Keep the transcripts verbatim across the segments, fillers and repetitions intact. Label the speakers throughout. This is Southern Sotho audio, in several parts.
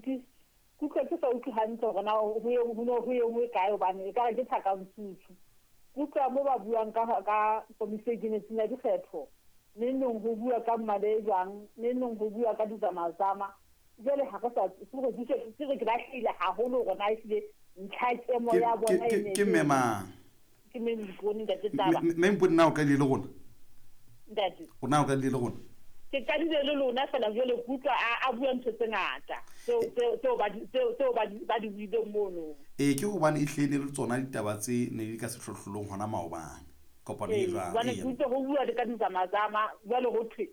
Speaker 1: ke kutlwa ke sa utlwe hantle hore na ho ye ho no ho ye nngwe kae hobane ekare ke tlhakantshutsu. Kutlwa mo ba buang ka ka komiti e ikemetseng ya dikgetho, neng neng ho bua ka mmale jwang, neng neng ho bua ka ditsamazama. Jwale ha re sa ke ke re ke lahlehile haholo hore na ehlile ntlha kemo ya bona e ne
Speaker 2: ke mme mang?
Speaker 1: Ke mme Mpone ntate Taba.
Speaker 2: Mme Mpone na o qadile le rona?
Speaker 1: Ntate.
Speaker 2: O na o qadile le rona?
Speaker 1: Ke qadile le lona fela jwale ke utlwa a bua ntho tse ngata tseo tseo ba tseo tseo ba ba di buileng mono.
Speaker 2: Ee, ke hobane ehlile le tsona ditaba tse ne di ka sehlohlolong hona maobane. Kopano e jwang?
Speaker 1: Hobane ke utlwa ho bua le ka ditsamazama jwale ho thwe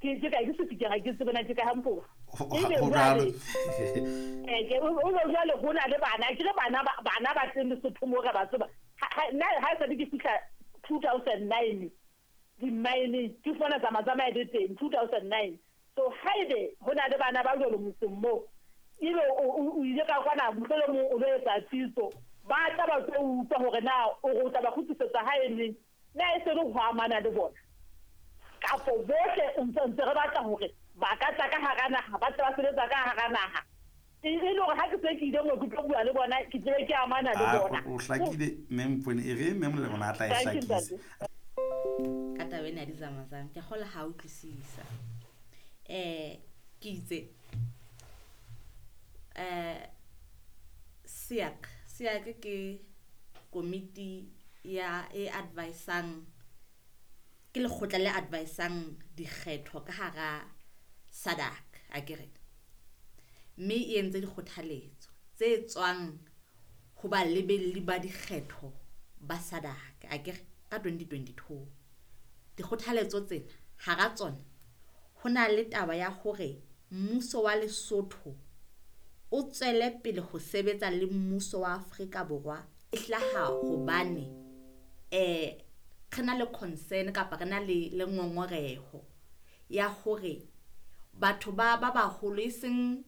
Speaker 1: ke ke ka ke se ke ga ke tsebe na ke ka hampo.
Speaker 2: Ho jwalo.
Speaker 1: Eh ke o jwale ho na le bana ke le bana bana ba teng Lesotho mo re ba tseba. Nna ha sa ke fihla two thousand nine di mine ke fona tsa matsamaya di teng two thousand nine. So haebe ho na le bana ba jwalo motseng mo ebe o ile ka kwana mohlomong o lo etsa tsitso ba tla ba tlo utlwa hore na o re o tla ba kgutlisetsa hae neng, na e se le ho amana le bona kapo bohle ntse ntse re batla hore ba ka tla ka hara naha, ba tla ba sebetsa ka hara naha. E le hore ha ke se ke ile mo ke tlo bua le bona ke tsebe ke amana le bona.
Speaker 2: O hlakile mme Mpone, e re mme Molemo a tla e hlakisa.
Speaker 3: Ka taba ena ya ditsamazama ke kgola ha utlwisisa. Eh ke itse eh SIAC SIAC ke komiti ya e advisang, ke lekgotla le advisang dikgetho ka hara SADC akere, mme e entse dikgothaletso tse tswang ho balebelli ba dikgetho ba SADC akere ka twenty twenty-two. Dikgothaletso tsena hara tsona ho na le taba ya hore mmuso wa Lesotho o tswele pele ho sebetsa le mmuso wa Afrika Borwa e hlaha hobane eh re na le concern kapa re na le le ngongoreho ya hore batho ba ba baholo e seng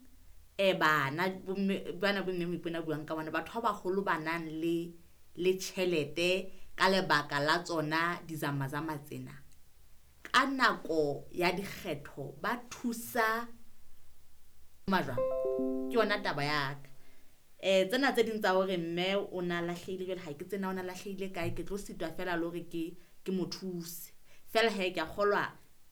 Speaker 3: eh bana bana bo mme Moipone buang ka bona, batho ba baholo ba nang le le tjhelete ka lebaka la tsona dizamazama tsena ka nako ya dikgetho ba thusa majwang. Ke yona taba ya ka. Eh tsena tse ding tsa hore mme o na lahlehile jwale ha ke tsena o na lahlehile kae, ke tlo sitwa fela le hore ke ke mo thuse fela. He ke a kgolwa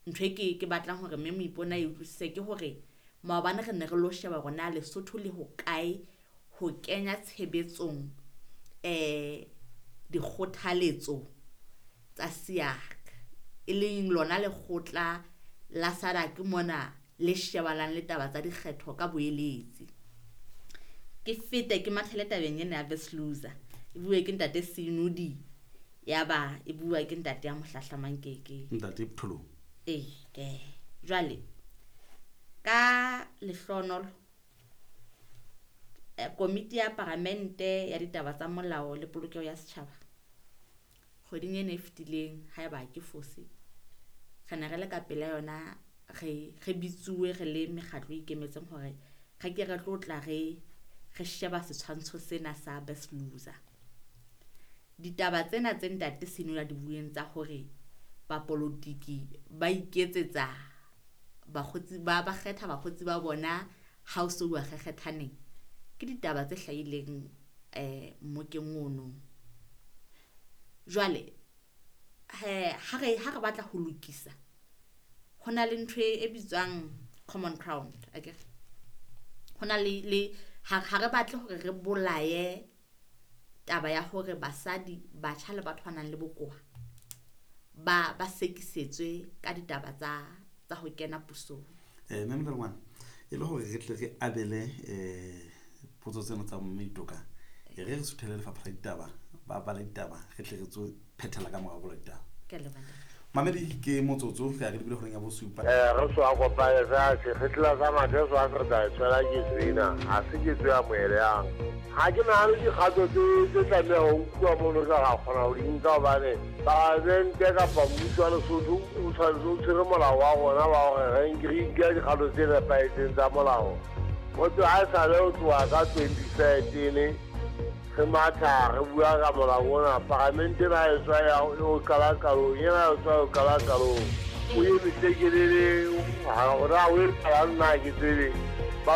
Speaker 3: ntho e ke ke batlang hore mme Moipone e utlwisise ke hore maobane re ne re lo sheba hore na Lesotho le ho kae ho kenya tshebetsong eh dikgothaletso tsa SIAC, e leng lona lekgotla la SADC mona le shebalang le taba tsa dikgetho ka boeletsi. Ke fete ke mathele tabeng ena ya Best Loser e bue ke ntate Senodi, ya ba e bua ke ntate ya mohlahlamang ke ke
Speaker 2: ntate Ptholong.
Speaker 3: Eh ke jwale ka lehlonolo komiti ya paramente ya ditaba tsa molao le polokeho ya setjhaba kgweding ena e fetileng, haeba ke fose, re ne re le ka pela yona re re bitsuwe re le mekgatlo e ikemetseng hore re ke re tlo tla re re sheba setshwantsho sena sa Best Loser. Ditaba tsena tse ntate Senola di bueng tsa hore bapolotiki ba iketsetsa bakgotsi ba ba kgetha bakgotsi ba bona ha o so bua kgekgethaneng, ke ditaba tse hlahileng eh mmokeng ono. Jwale he ha re ha re batla ho lokisa ho na le ntho e bitswang common ground akere, ho na le le ha re batle hore re bolaye taba ya hore basadi, batjha le batho ba nang le bokowa ba ba sekisetswe ka ditaba tsa tsa ho kena pusong.
Speaker 2: Eh mme Molelwane, e le hore re tle re abele eh potso tsena tsa mme Itoka, e re re suthele lefapha la ditaba, ba bala ditaba, re tle re tso phethela ka morao bola ditaba.
Speaker 3: Ke a leboha.
Speaker 2: Mamedi ke motsotso re a re lebile horeng ya bosupa.
Speaker 4: Eh re tswa kopane sa se re tla sa mathe so a re tla tswela ke tsena ha se ke tswa moeleyang. Ha ke nahane dikgato tse tse tlameha ho nkuwa mono ka ra kgona ho di nka hobane palamente kapa mmuso wa Lesotho o tshwanetse o tshwere molao wa rona wa hore re nke re nke dikgato tse nepahetseng tsa molao. Motho ha e sale ho tloha ka twenty thirteen re matha re bua ka molao ona, palamente ena e tswa ya o qala qalong, ena e tswa o qala qalong. O emise kelele, ha hore ha o etsahalang nna ha ke tsebe.